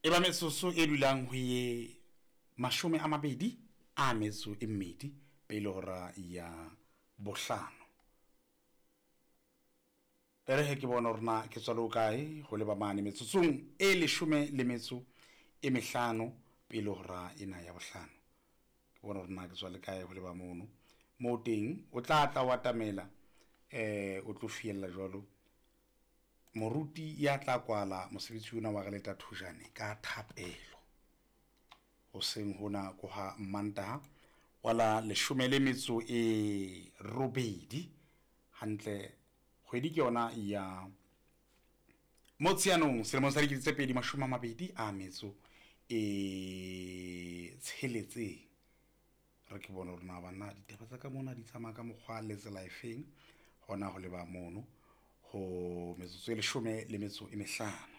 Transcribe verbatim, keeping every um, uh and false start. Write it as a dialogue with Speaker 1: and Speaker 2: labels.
Speaker 1: E ba metsotso e dulang ho ye mashome a mabedi a metso e mmedi pele hora ya bohlano. E re he ke bone hore na ke tswa le hokae ho leba mane metsotsong e leshome le metso e mehlano pele hora ena ya bohlano. Ke bone hore na ke tswa le kae ho leba mono. Moo teng o tla tla o atamela eh o tlo fiella jwalo moruti ya tla kwala mosebetsi ona wa re leta thojane ka thapelo. Hoseng hona ko ha Mantaha wa la leshome le metso e robedi hantle kgwedi ke yona ya Motsheanong selemong sa dikete tse pedi mashome a mabedi a metso e tsheletseng. Re ke bone hore na banna ditaba tsa ka mona di tsamaya ka mokgwa le tsela efeng hona ho leba mono ho metsotso e leshome le metso e mehlano.